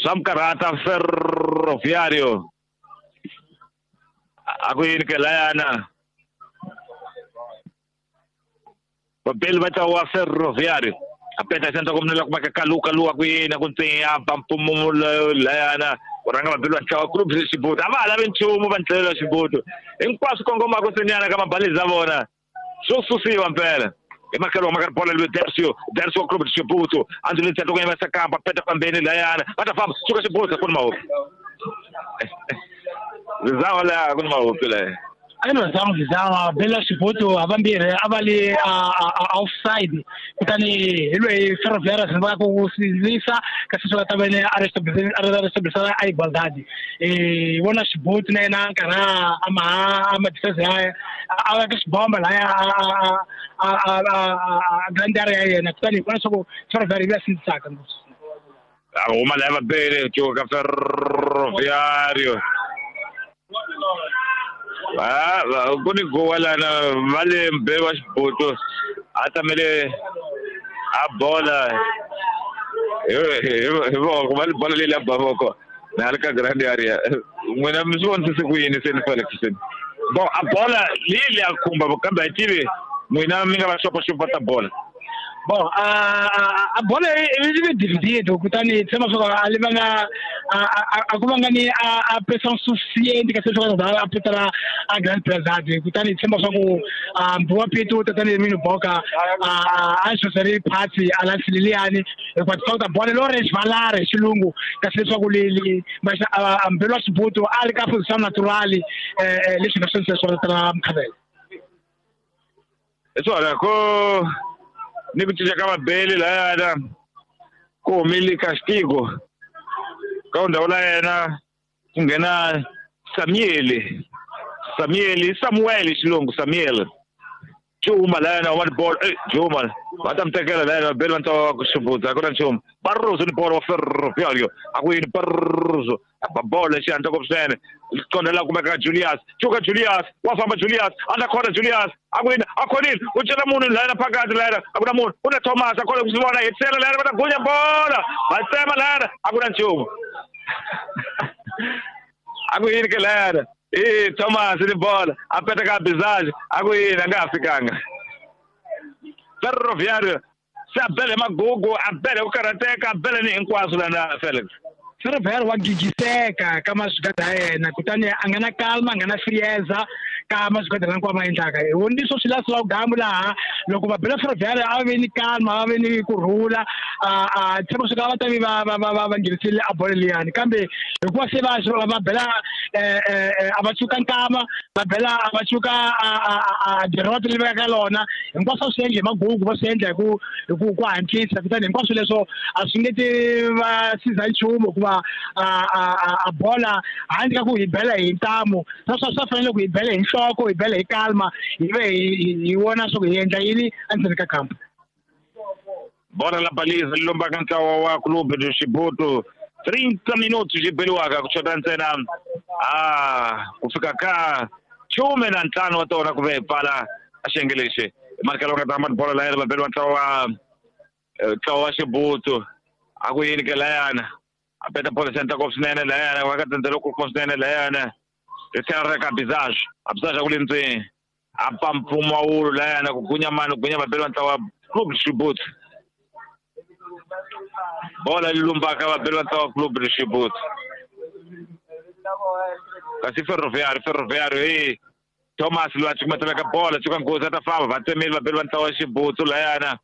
Swa mi karhata Ferroviario. A ku yini ke layana? Vabeli va ntlawa wa Ferroviario. A peta xandla ku munhu la kumaka kalu kalu a ku yini a ku ntsinya ba mpfumawulo layana ku rhanga vabeli va ntlawa Club Xibutu. A va ha lavi nchumu va ndlela Xibutu. Hinkwaswo kongomaka senyana ka mabalezi ya vona. Swo susiwa mpela. Hi makhelo wa makari bola loyi Dersio, Dersio wa Club Xibutu. A ndzi le ntsena ku yima Sakamba peta fambeni layana. Va ta famba suka Xibutu ku ni mahopi. Zizawa la ku ni mahopi la. A ni zanga zama bela Xibutu havambirhi a va li a offside kutani hi loyi Ferroviário va ku sindzisa kasi swi nga ta vene a restabilisa a igualdade vona Xibutu na yena nkarhi a ma a ma defense ya a veka xibomba laya a grand area ya yena kutani hi vona leswaku Ferroviário yi va sindzisaka ngopfu. A huma laya vabeli cuka Ferroviário. Ku ni gowa lana va le mbeli wa Xibutu a tamele a bola hi voko va le bola leyi la ba voko na le ka grand area. N'wina mi swi vonisise ku yini se ni Felix se? Bon, a bola leyi leyi a khumba kambe a yi tivi n'wina mi nga va xopaxopa ta bola. Bon, a bola yi ve divided kutani tshemba swa ku a li vanga a ku vanga ni a pression suficiente kasi leswaku a petela a grand prezade kutani tshemba swa ku mbuwa Pitu tatani Mino Boka a xoseri phasi a landzeleli liyani hikuva ti ta bola lo ri xivalare hi xilungu kasi leswaku li mbelo wa Xibutu a ri ka position natural leswi nga swona swona ta Mkhavela. Hi swona ku ni ku cinca ka vabeli layana ku humile Castigo ka ndhawu la yena ku nghena Samuel Samuel Samuel xilungu Samuel Juma layana wa bolo Juma va ta mi tekela layana vabeli va ntlawa wa ku Xibutu a ku na nchumu. Barroso ni bolo wa Ferroviario a ku yini Barroso a bolo xihatla ngopfu swinene qonda la kumeka ka Julius cuka Julius wa famba Julius a ta khona Julius a ku yini a khonile u cela munhu layana phakathi layana a ku na munhu u na Thomas a khona ku swi vona hetisela layana va ta gunya bola va tsema layana a ku na nchumu. A ku yini ke layana Thomas ni bola a peta ka Bizage a ku yini a nga ha fikanga. Ferroviario se a bele magugu a bele ku karhateka a bele ni hinkwaswo lana Felix. Ferroviário wa gigiseka ka maswigada ya yena kutani a nga na calma a nga na frieza ka maswigada lawa ma endlaka. Hi voni swo swi la gamu laha loko va bela Ferroviário a ve ni calma a ve ni kurhula a tshemba swi ka va ta vi va va va va nghenisile a bolo liyani kambe hikuva se va va bela a va cuka nkama va bela a va cuka a diroto leyi vekaka lona hinkwaswo swi endla hi magugu va swi endla hi ku hatlisa kutani hinkwaswo leswo a swi nge ti va siza nchumu hikuva a bola handle ka ku hi bela hi ntamu naswona swa fanele ku hi bela hi nhloko hi bela hi calma hi ve hi vona swa ku hi endla yini endzeni ka kampa. Bola la baliza li lombaka ntlawa wa Clube de Xibutu 30 minutos xi beliwaka ku xota ntsena ku fika ka 15 wa tona ku ve hi pfala a xiyenge lexi. Markelo nga ta bola layana va beliwa ntlawa wa Xibutu a ku yini ke layana a peta bola xandla ngopfu swinene layana va ka tsendzelo ku swinene layana ri tlhela ri ka Bizage a Bizage a ku le ndzeni a pa mpfumawulo layana ku gunya mani ku gunya vabeli va ntlawa Clube Xibutu. Bola li lumbaka vabeli va ntlawa Clube Xibutu kasi Ferroviário Thomas loyi a cukumetelaka bola cuka nghozi a ta famba va tsemile vabeli va ntlawa Xibutu layana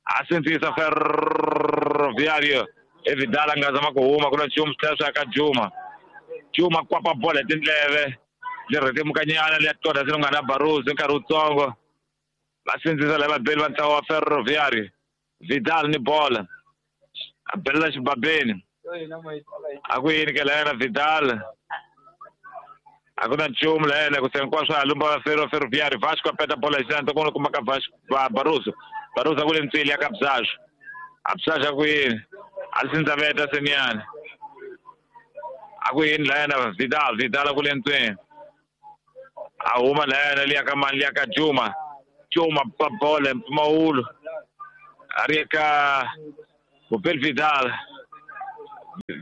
a sindzisa Ferroviário Vidal a nga zama ku huma ku na nchumu swi tlhela swi ya ka Juma. Juma kwapa bola hi tindleve leri rhetemukanyana liya tonda se nga na Barroso nkarhi wutsongo va sindzisa lava vabeli va ntlawa wa Ferroviário. Vidal ni bola a belela xibabeni a ku yini ke layena Vidal a ku na nchumu layena ku se hinkwaswo a lumba va Ferroviário. Vasco a peta bola hi xandla ku kuma ka Vasco Barroso Barroso a ku le ntswili ya ka Bizage a Bizage a ku yini a sindzaveta senyana a ku yini layena Vidal Vidal a ku le ntswini a huma layena liya ka mani liya ka Juma Juma pa bola mpfumawulo a ri ka Mupel Vidal.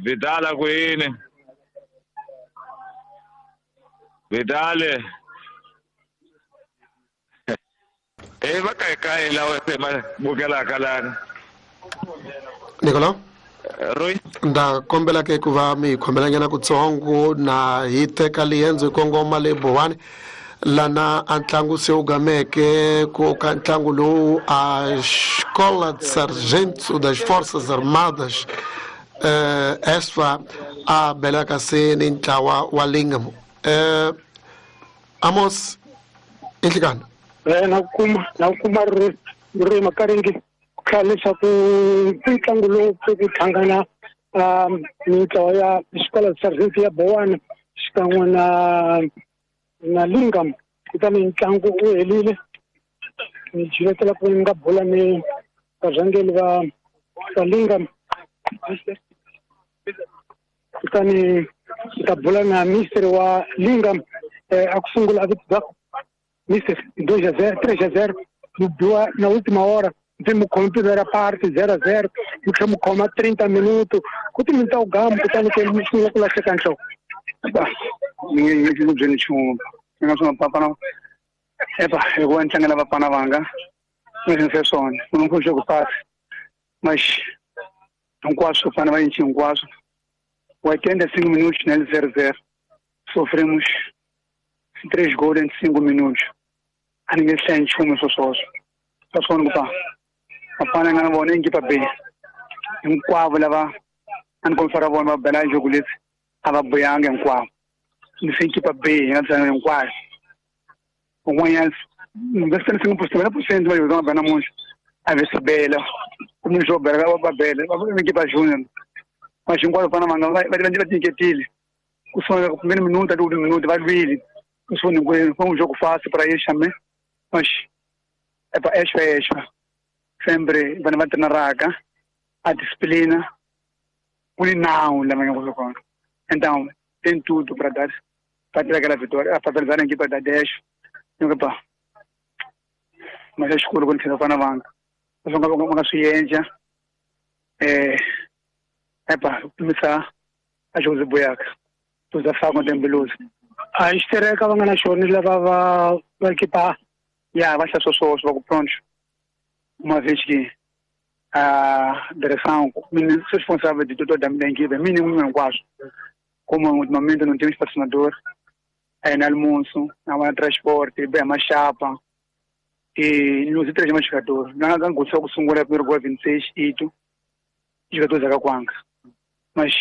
Vidal a ku yini Vidal e va kai lawa se ma bukelaka lana Nicolau Roy nda kombela ke ku va mi hi khomelanyana kutsongo na hi teka liendzo hi kongoma le Bowani lana a ntlangu se wu gameke ku ka ntlangu lowu a Escola de Sargento das Forças Armadas ESFA a belaka se ni ntlawa wa Lingam Amos inhlikana na kuma ri makaringi ku leswaku ntlangu lowu ku hlangana mintlawa ya Escola de Sargento ya Bowani xikan'we na Lingam kutani ntlangu wu helile ni jivetela ku nga bula ni varhangeri va Lingam kutani ta bula na mister wa Lingam a ku sungula a vito mister 2-0 3-0 mu biwa na última hora ndzi mu khoma primeira parte 0-0 mu tlhela mu khoma 30 minuto ku ti minta u gamu kutani ke mi sungula ku lahleka nhloko ni nge ku byeli nchumu ni nga swi papana epa hikuva ni tlangela vapana vanga ni swi swona munhu mpfuxe ku pasi mas hinkwaswo fana va yinchi hinkwaswo 85 minutos nele 0-0 sofremos 3 gols em 5 minutos a ni nge hlayi nchumu swoswoswo swa swona ku pa vapana nga na vona ekipa B hinkwavo lava a ni kombisa ra vona va bela jogo leti a va buyanga hinkwavo ni se ekipa B hi nga tlanga hinkwayo un'wanyana 55% va yoga va namuntlha a ve se bela kumbe xo bela va bela va ekipa junior mas hinkwavo vana vanga va tinyiketile ku sungula ku primeiro minuto até o último minuto va lwile ku sungula foi um jogo fácil para eles também mas é para extra sempre vana va treinaraka a disciplina ku ni nawu lama nga kona então tem tudo para dar para ter aquela vitória para realizar a equipa da 10 nyoka mas xikolo ku ni fana vanga swi nga va nga swi endla epa kumisa a Jose Boyaka tuza fa com tembeloso a xitereka va nga na xona lava va ekipa ya va hlaya swoswo va ku pronto uma vez que a direção responsável de toda a minha equipe mínimo hinkwaswo como ultimamente não temos patrocinador é na almoço na transporte bem mais chapa e nos três mais jogadores na ngangutsa ku sungula primeiro gol 26 ito jogadores akakwanga mas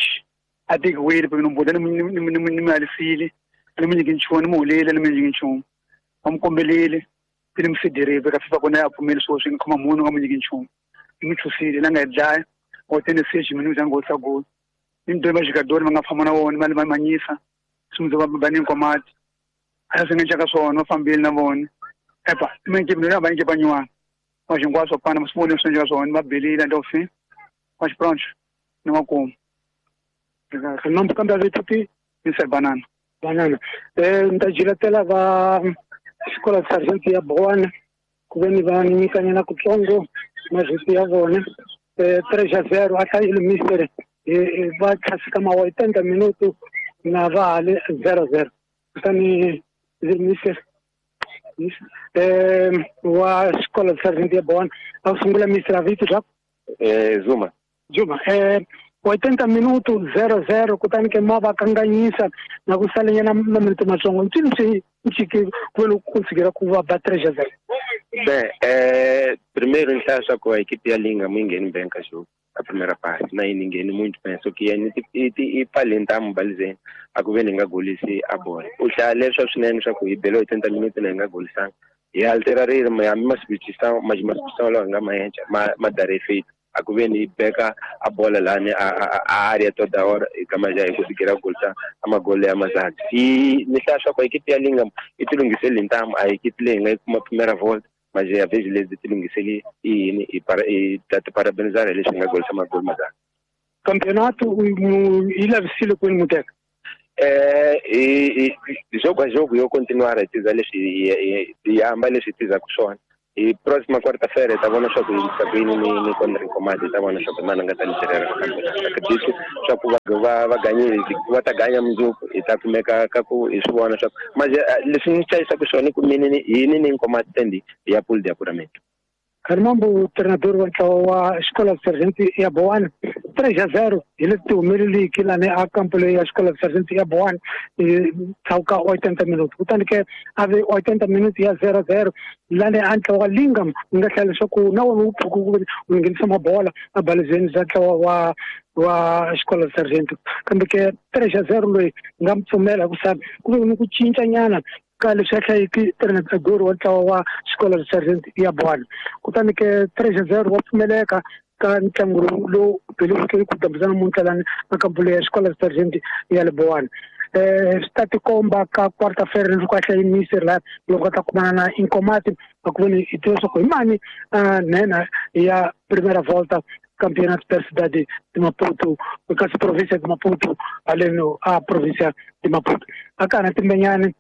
até que o ele porque não pode nem alisile nem ninguém nchumu mulele nem ninguém nchumu vamos ele me cederei porque fifa kona ya pfumeli swo swi khoma munhu nga munyiki nchumu ni chusile na nga dlaya o tene 6 minutos angotsa gol ni dois jogadores va nga famba na vona va manyisa swi va ba ni nkomati a swi nga nchaka swona va fambile na vona epa mina ke mina va nge banyiwa mas hinkwaswo pana swi vone swi nchaka swona va belile até o fim mas pronto ni makumu nome kambe vito ti Mr Banana ni ta jiletela va Escola de Sargento ya Boana ku ve ni va nyikanyana kutsongo mavito ya vona 3-0 a hlayile mister va tlhasika ma 80 minuto na va hale 0-0 kutani mister wa Escola de Sargento ya Boana a sungula mister a vito swa Zuma 80 minuto 0-0 kutani ke ma va kanganyisa na ku salenyana na minuto matsongo ntini swi ncike ku conseguir ku va ba 3-0 Bem, primeiro em só com a equipe ya Linga ninguém bem cachorro a primeira parte na ninguém muito bem só que e palentamo balizeni akuveni nga golisi a bola u hlaya leswa swinene swa ku hi bele 80 minutos na hi nga golisanga hi alterarile hambi maswitchisa maswitchisa lawa hi nga ma endla ma dare efeito akuveni beka a bola lani a área toda hora kama já conseguirá golisa amagole ya mazadi e ni hlaya swa ku equipe ya Linga i tilunghiseli ntamu a equipe leyi nga yi kuma primeira volta mas a vez lezi tilunghiseli yini i ta ti parabenizar leswi nga golisa magoli mazadi campeonato i lavisile kwini muteka jogo a jogo yo continuar a tiza leswi hi hamba leswi tizaku swona Hi próxima quarta-feira hi ta vona swa ku yimisa ku yini ni contra Nkomati, hi ta vona swa ku mani a nga ta liderera campeonato. Acredito swa ku va ganyile, va ta ganya mundzuku, hi ta kumeka ka ku hi swi vona swa ku mas leswi ni chayisaka swona i ku mina ni hini ni Nkomati tendi hi ya pool de apuramento. Khalimambu treinador wa ntlawa wa Escola Sargento ya Boane 3-0 hi leti ti humeleliki lani a kampo leyi ya Escola Sargento ya Boane tshauka 80 minutes, kutani ke a ve 80 minutes ya 0-0 lani a ntlawa wa Lingam wu nga hlaya leswaku na wona wu pfuka ku wu nghenisa mabola a balizeni bya ntlawa wa Escola Sargento, kambe ke 3-0 loyi nga mi pfumela hikusa ku ve ni ku cinca nyana ka leswi a hlayiki treinador wa ntlawa wa Escola Sargento ya Boane. Kutani ke 3-0 wa pfumeleka ka ntlangu lowu beliweke ku dambisa namuntlha lani a kampo leyi ya Escola Sargento ya le Boane. Swi ta tikomba ka quarta-feira loko a hlayimise laha loko a ta kumana na Inkomati a ku veni hi tiva leswaku hi mani nhenha ya primera volta campeonato da cidade de Maputo, kasi província de Maputo, haleno a província de Maputo. A ka na timbenyani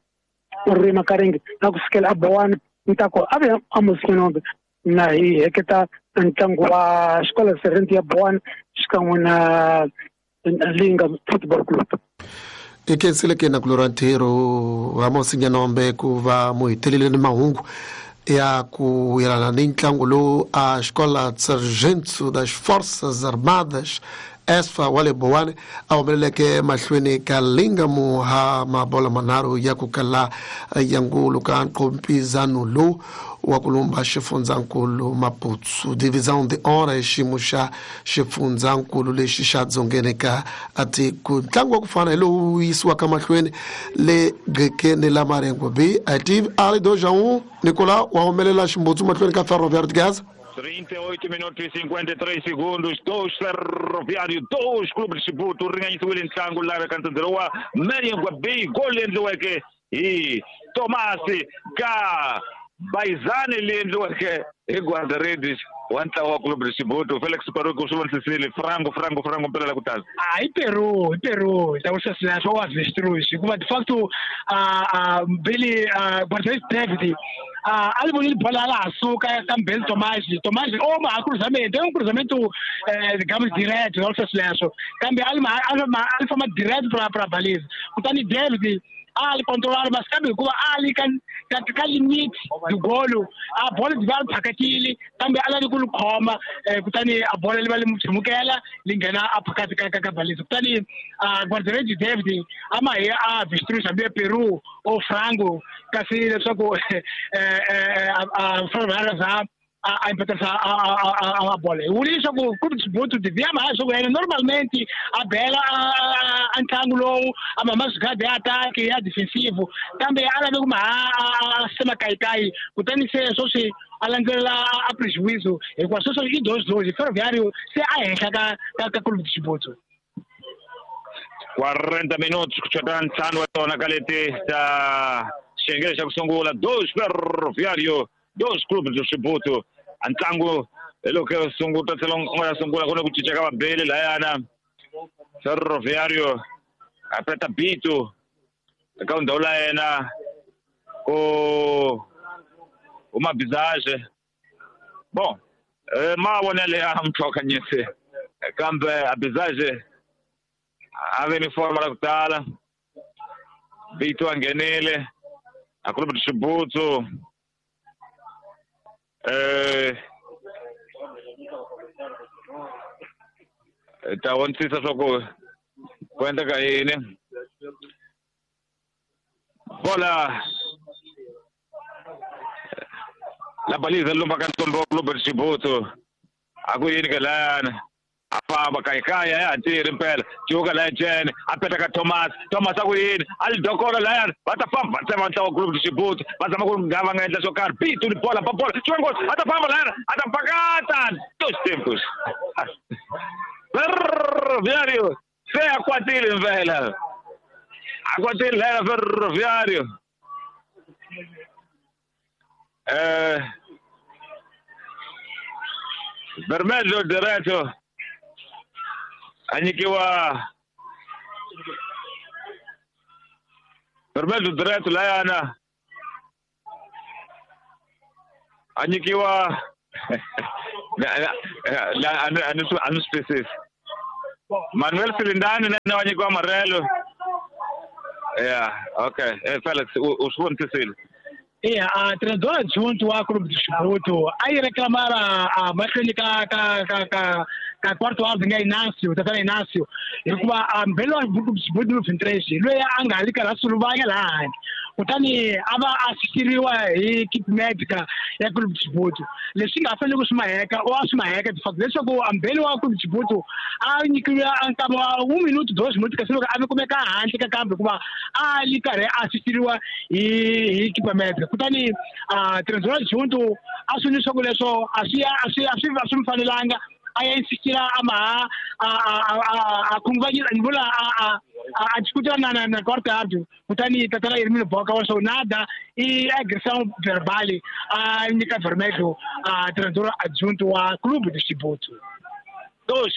ri makaringi na ku sukela a Boane ntako a ve Amos Nyanombe na hi heketa ntlangu wa Escola Sargento ya Boane xikan'we na Linga Football Club. I khensile ke na ku lora ntirho Amos Nyanombe ku va mu hetelele ni mahungu ya ku yelana ni ntlangu lowu a Escola Sargento das Forças Armadas ESFA wa le Boane a humeleleke mahlweni ka Lingamu ha mabola manharhu ya ku kala ya ngulu ka nqompizano lowu wa ku lumba xifundzankulu Maputo Divisão de Honra hi xiyimo xa xifundzankulu lexi xa dzongeni ka tiko. Ntlangu wa ku fana hi lowu yisiwaka mahlweni le Gqekeni la Marengo B Ativ Ali 2-1 Nicolau wa humelela ximbutsu mahlweni ka Ferroviário de Gaza. 38 minutos e 53 segundos, 2 Ferroviário, 2 Clube de Chibuto, ringanyisiwile ntlangu lava ka ntsendzelo wa Marengo B, gol leyi endliweke hi Tomasi ka Baizani leyi endliweke hi guarda-redes wa ntlawa wa Clube de Chibuto Felix Paruki u swi vonisisile frango frango frango mpela la ku tala. A hi Peru, hi Peru hi ta ku sweswo wa avestruz hikuva de facto Billy guarda-redes David a li vonile bola a la ha suka ka Mbeli Tomasi Tomasi o ma ha cruzamento é um cruzamento digamos direto não sweswo kambe a li famba direto pra baliza kutani David a li controlar mas kambe hikuva a li ka limit do golo a bola di va li phakatile kambe a lavi ku li khoma kutani a bola li va li mu tshimukela li nghena a phakati ka baliza kutani guarda-redes David a ma hi a avestruz hambi ya Peru o frango kasi leswaku a za a empatarisa a bola. Hi vule leswaku Clube de Chibuto devia ma leswaku yena normalmente a bela a ntlangu lowu a ma maswigadi ya ataki ya defensive kambe a lave ku ma a sema kayikayi kutani se sweswi a landzelela a prejuízo hikuva sweswo i 2-2 Ferroviário se a henhla ka Clube de Chibuto. 40 minutos ku chota ntlhanu wa tona ka leti ta xiyenge xa ku sungula 2 Ferroviário 2 Clube de Chibuto. A ntlangu hi loko sunguta tlhela u nga sungula ku na ku cinca ka vabeli layana Ferroviário a peta Bito eka ndhawu la yena ku huma Bizage. Bon mavonele ya mtlhokanyisi kambe a Bizage a ve ni forma la ku tala Bito a nghenile a Clube de Chibuto ta vonisisa swa ku ku endleka yini bola la baliza lumba ka ntombo wa Clube de Chibuto a ku yini ka layana a famba kayikaya ya ha tirhi mpela cuka laya jene a peta ka Thomas Thomas a ku yini a li dokora layana va ta famba va tsema ntlawa wa Clube de Chibuto va zama ku nga va nga endla swo karhi Bito ni bola ba bola cuka nghozi a ta famba layana a ta pakata dos tempos Ferroviário se a kwatile mpela a kwatile layana Ferroviário Vermelho direto a nyikiwa Vermelho direto layana A nyikiwa a ni swi twisisi. Manuel Silindani na wa nyikiwa amarelo. Yeah, okay. Felix, u swi vonisisile. Iya, a treinador adjunto wa Clube de Chibuto a yi reclamar a mahlweni ka ka ka ka ka quarto árbitro nga Inácio, tatana Inácio, hikuva a mbhelo wa Clube de Chibuto no 23 loyi a nga li karhi a suluvanya laha handle, kutani a va asistiriwa hi kit medica ya Clube de Chibuto. Leswi nga fanele ku swi maheka o a swi maheka de fato leswaku a mbhelo wa Clube de Chibuto a nyikiwa nkama wa 1 minuto 2 minutos kasi loko a kumeka handle ka kambe hikuva a li karhi a asistiriwa hi kit medica. Kutani a treinador adjunto a swi leswaku leswo a swi a swi a swi a swi mi fanelanga a ya insistira a maha a khunguvanyisa ni vula a discutira na quarto árbitro. Kutani tatana Hermínio Boca wa swo nada i agressão verbal a nyika vermelho a treinador adjunto wa Clube de Chibuto. 2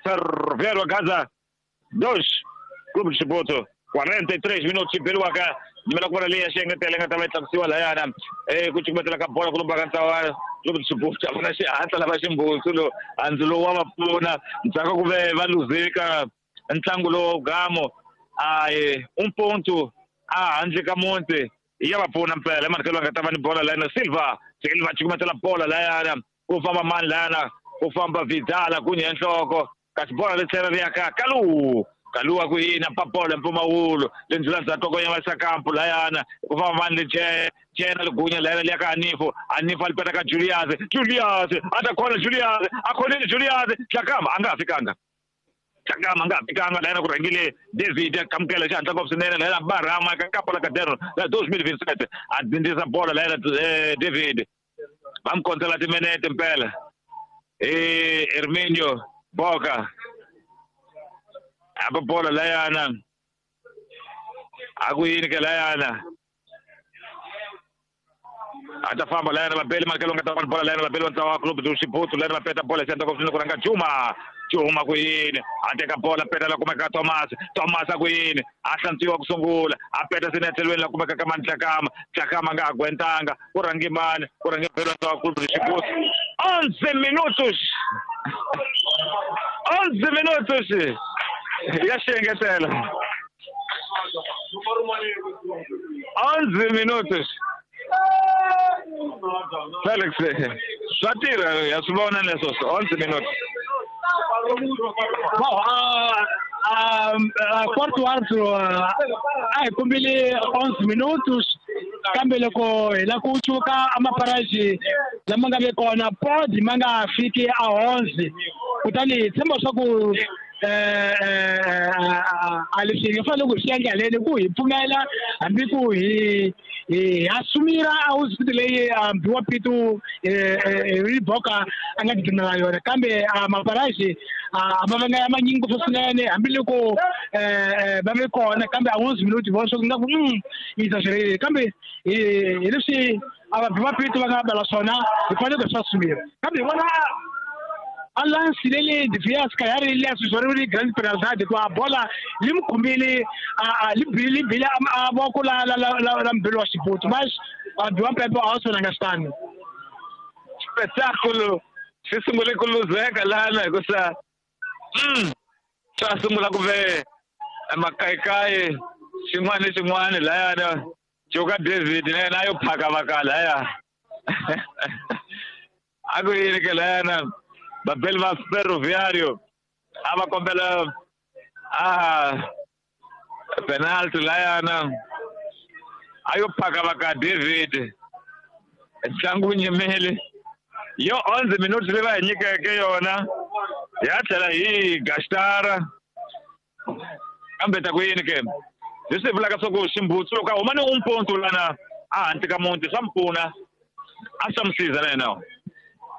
Ferroviário Gaza 2 Clube de Chibuto. 43 minutos beliwa ka nyimela ku vona leyi ya xiengetelo yi nga ta va yi tlakusiwa layana ku cukumetela ka bola ku lomba ka ntlawa Clube de Chibuto. A vona xihatla lava ximbutsu lo handzu lowu wa va pfuna ndzhaku ku ve va luzeka ntlangu lowu gamo a un ponto a handle ka muti ya va pfuna mpela emanikelo va nga ta va ni bola layana. Silva cukumetela bola layana ku famba mani layana ku famba Vidala ku nye nhloko kasi bola ri tlhela ri ya ka Kalu. Kalu a ku yini pa bola mpfumawulo le ndzula ndzhaku ko ya Sakampu layana ku famba mani le Jena Ligunya layana le ka Anifo. Anifo a li peta ka Julius. Julius a ta khona Julius a khonile Julius Tlakama a nga fikanga. Tlakama nga fikanga layana ku rhangile David a kamukela xihatla ngopfu swinene layana Barama ka nkapo la Caderno la 2027 a dzindzisa bola layana David va mi kondzela timinete mpela. Hermínio Boca apa bola layana a ku yini ke layana a ta famba layana vabeli makelo nga ta va bola layana vabeli va ntlawa wa Clube do Chibuto layana va peta bola xihatla ngopfu swinene ku rhanga Juma. Juma ku yini a teka bola peta la kumeka Thomas. Thomas a ku yini a hlantswiwa ku sungula a peta swinene tlhelweni la kumeka ka mani Tlakama. Tlakama nga ha gwentanga ku rhange mani ku rhange belo ntlawa Clube do Chibuto. 11 minutos 11 minutos ya xiengetelo 11 minutos. Felix swa tirha ya swi vona leswo 11 minutos. Bom, a quarto árbitro a hi kombile 11 minutos kambe loko hi la ku cuka amaparaji lama nga ve kona pod ma nga fiki a 11 kutani hi tshemba swa ku a leswi hi nga fanele ku hi swi endla haleni ku hi pfumela hambi ku hi assumira a hospital leyi mbiwa Pitu Riboka a nga tigimela yona kambe maparaji a ma vanga ya manyingi ngopfu swinene hambiloko va ve kona kambe a 11 minuti vona swa ku nga ku yi exagerele kambe hi leswi a va mbiwa Pitu va nga bela swona hi fanele ku swi assumira kambe hi vona a lance lele devia se calhar ele assessor de grande penalidade com a bola lhe me combine a lhe bile a bola la la la la mbelo Chibuto mas a do pepe also na ngastani espetáculo se sungule ku luzeka lana hikusa swa sungula ku ve makayikayi xin'wana ni xin'wana layana Joka David na yena a yo phaka vaka laya a ku yini ke layana Babel va Ferroviário a va kombela a penalty layana a yo phaka vaka David ntlangu wu nyimile yo 11 minutos leyi va hi nyikeke yona ya tlhela hi gastara kambe ta ku yini ke leswi vulaka swa ku ximbutsu loko a huma ni un ponto lana a handle ka muti swa mi pfuna a swa mi siza na yena.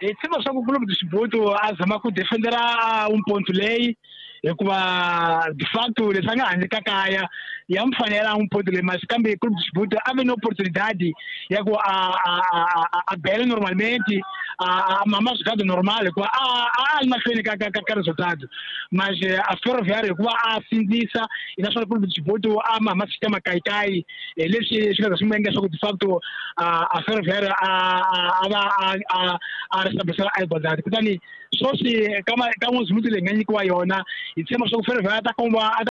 Hi tshemba swa ku Clube de Chibuto a zama ku defendera un ponto leyi Hikuva de facto leswi a nga handle ka kaya ya n'wi fanela a n'wi ponto leyi masi kambe Clube de Chibuto a ve ni opportunidade ya ku a bela normalmente a mama swigado normal hikuva a ri mahlweni ka resultado mas a Ferroviário hikuva a sindzisa naswona Clube de Chibuto a mama sistema kayikayi leswi swi nga za swi n'wi endla leswaku de facto a Ferroviário a va a restablecela a igualdade kutani sweswi ka n'wezimutsi leyi nga nyikiwa yona hi tshemba leswaku Ferroviário a ta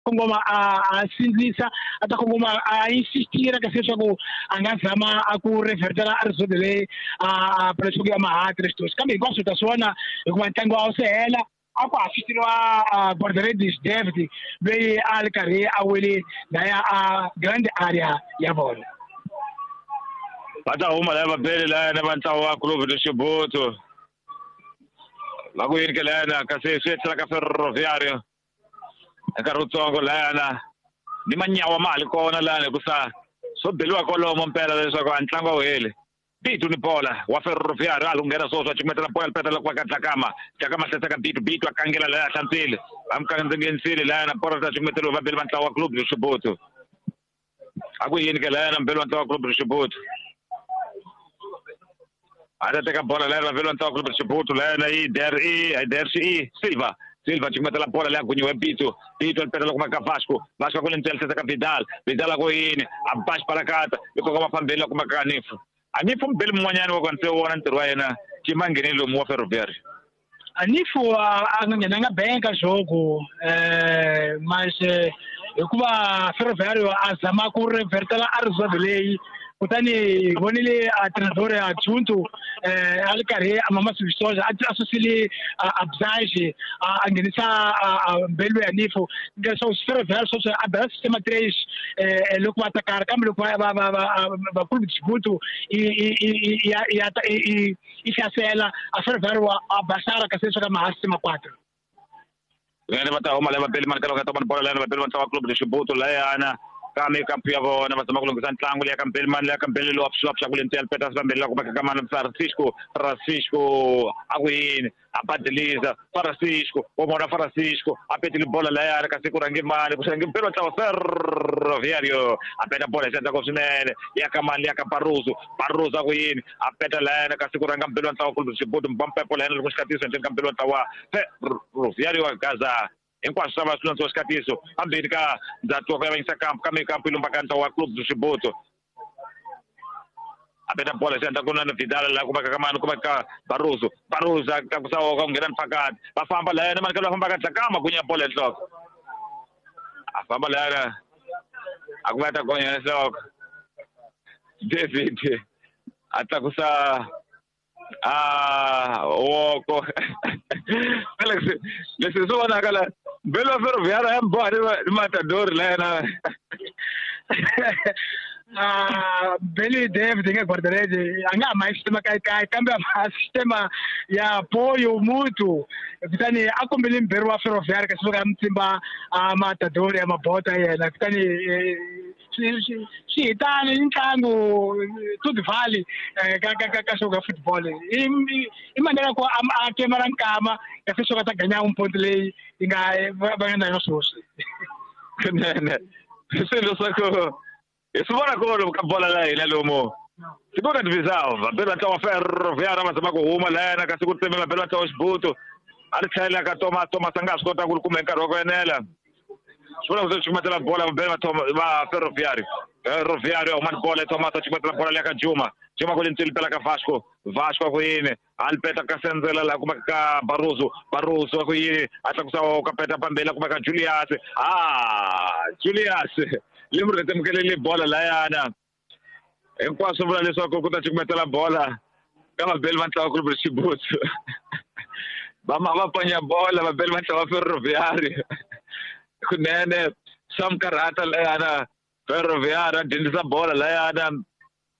kongoma a sindzisa a ta kongoma a insistira kasi leswaku a nga zama a ku revertela a result leyi a leswaku ya mahati leswi kambe hinkwaswo ta swi vona hikuva ntlangu a wu se hela a ku assistiriwa Guarda-redes David loyi a ri karhi a wele laya a grand area ya vona. Va ta huma laya vabeli laya na va ntlawa wa Clube de Chibuto va ku yini ke layana kasi swi tlhela ka Ferroviário nkarhi wutsongo layana ni manyawa ma ha li kona layana hikusa swo beliwa kwalomo mpela leswaku a ntlangu a wu heli. Bitu ni bola wa Ferroviário a lunghena swoswo a cukumetela bola petela ku va ka Dlakama Dlakama hlaseka Bitu Bitu a kangela laya hlantswile va n'wi layana bola ta cukumeteriwa va beli va ntlawa wa Clube de Chibuto a ku yini ke layana mbeli wa ntlawa wa Clube de Chibuto a ta teka bola layana va ntlawa Clube de Chibuto layana i DRE Silva Silva cukumetela bola leyi a gunyiwe Bitu Bitu alipetela kuma ka Vasco Vasco ku lentsela hlaseka Vidal Vidal a ku yini a ba xipalakata yi kongoma fambeni la kuma ka Anifu Anifu mbeli mun'wanyana wa ku wona ntirho wa yena cima ngheni lomu wa Ferroviário. Anifu a nga nghenanga benka jogo mas hikuva Ferroviário a zama ku revertela a reserve leyi kutani hi vonile a treinador adjunto a ri karhi a mama Viçosa a susile a Bzaje a nghenisa mbelu ya Nifo leswaku Ferroviário sweswi a bela sistema 3 loko va atakara kambe loko va Clube de Chibuto i hlasela a Ferroviário a basara kasi leswaku a maha sistema 4. Ngene va ta huma lava beli mani ka loko ta vona bola lana va beli va ntlawa Clube de Chibuto layana kame kampu ya vona va zama ku lunghisa ntlangu leya ka mbeli mani leya ka mbeli lowa pfuxa ku lentsela Peters va mbeli la kuma ka mani Francisco Francisco a ku yini a badiliza Francisco wa vona Francisco a petile bola layana kasi ku rhange mani ku rhange mbeli wa ntlawa Ferroviário a peta bola hi xandla swinene ya ka mani leya ka Barroso Barroso a ku yini a peta layana kasi ku rhanga mbeli wa ntlawa Clube de Chibuto mbampepo layana loko xikatiso endzeni ka mbeli wa ntlawa Ferroviário wa Gaza hinkwaswo swa va swi londziwa xikatiso phambeni ka ndzhaku wa ku yavanyisa kampu kambe kampu yi lumba ka ntlawa wa Clube de Chibuto a peta bola xi endla ku na Vidal la kuma ka mani kuma ka Barroso Barroso a tlakusa ka ku nghena mphakati va famba layana mani ka va famba ka Dlakama ku nya bola enhloko a famba layana a ku va ta gonya enhloko David a tlakusa woko Alex leswi swi vonaka la mbeli wa Ferroviário ya mboha ni matadori layana Beli David nga guarda-redes a nga ha ma sistema kayikayi kambe a sistema ya apoio mútuo kutani a kombele mberi wa Ferroviário kasi loko a mutsimba a matadori ya mabota yena kutani swi hitani ntlangu to the valley ka show ka football i manera ku a kemara nkama kasi swo ka ta ganya umponto leyi yi nga va nga na yona sweswi kunene swilo swa ku hi swi vona kolo ka bola la hina lomu Segunda divisão vabeli va ntlawa Ferroviário va zama ku huma layana kasi ku tseme vabeli va ntlawa Xibuto a ri tlhela ka Thomas Thomas a nga ha swi kota ku ri kuma hi nkarhi wa ku enela swi vula ku se cukumetela bola vabeli va Ferroviário Ferroviário a huma ni bola Thomas a cukumetela bola leya ka Juma Juma ku lentsweli pela ka Vasco Vasco a ku yini a li peta ka Senzela laha kumaka ka Barroso Barroso a ku yini a tlakusa ka peta pambeni la kumaka Julius Julius le mu rhetemukelele bola layana hinkwaswo vula leswaku ku ta cukumetela bola ka vabeli va ntlawa Clube de Chibuto va ma va panya bola vabeli va ntlawa Ferroviário kunene swa mikarhata layana Ferroviário a dyondzisa bola layana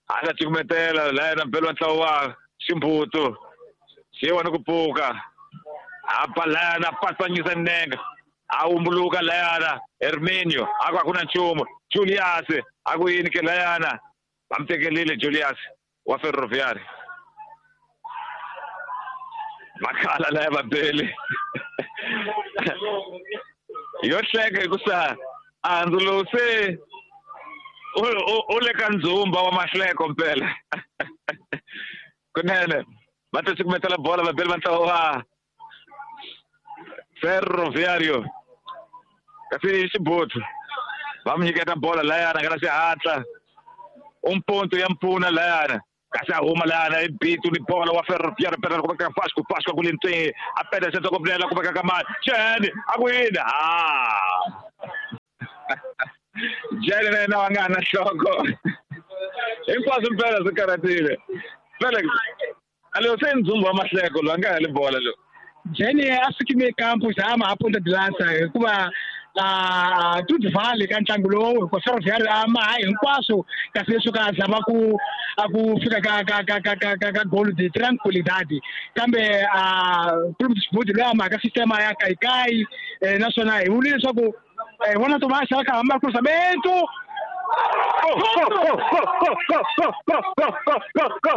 a ta cukumetela layana mbeli wa ntlawa wa Ximbuto xi wona ku pfuka a ba layana a patsanyisa nenge a wumbuluka layana Herminio a ku a ku na nchumu Julius a ku yini ke layana va mi tekelile Julius wa Ferroviário va khala laya vabeli Yo hleka hikusa andzu lowu se u le ka ndzumba wa mahleko mpela. Kunene va ta cukumetela bola vabeli va ntlawa wa Ferroviário. Kasi Xibutsu va mu nyiketa bola layana nga na xihatla. Ponto ya mpfuna layana. Kasi a huma layana i bitu ni bola wa Ferroviário pera ku veka Vasco, Vasco ku le ntseni a peda xentswa ku pfulela ku veka ka mani. Jene a ku yini? Jene na yena wa nga ha na nhloko. Hinkwaswo mpela swi karhatile. Felix, a lowu se ndzumba wa mahleko lowu a nga heli bola lowu. Jene a sukime kampo zama a Ponta de Lança hikuva Tudo vale ka ntlangu lowu hikuva Ferroviário a maha hinkwaswo kasi leswo ka zama ku a ku fika ka ka ka ka ka ka ka goal de tranquilidade kambe Clube de Xibudi loyi a mahaka sistema ya kaikai naswona hi vule leswaku vona Tomás a kha hamba cruzamento. Go, go, go, go, go, go, go, go, go, go.